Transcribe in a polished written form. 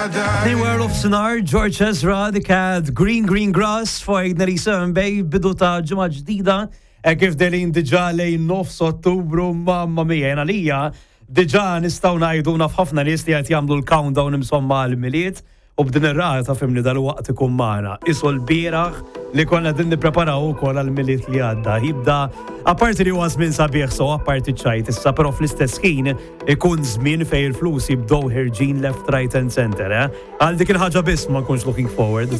They were of Sinar, George Ezra, The Cat, Green Green Grass, fuq 97 Bay, bidu ta' ġimgħa ġdida, e kif delin diġà lejn nofs Ottubru, mamma mia, jena lija, diġà nistgħu ngħidu naf ħafna nies li qed jagħmlu l-countdown insomma għall-Milied. U b'din ir-rata fimni dalwaqt ikun magħna. Qisu l-bieraħ li konna qegħdin nippreparaw ukoll għall-Milied li għadda. Jibda apparti li huwa żmien sabiħ so apparti ċajt issa però fl-istess ħin ikun żmien fejn il-flus jibdew ħerġin left, right and center. Eh? Għal dik il-ħaġa biss ma nkunx looking forward.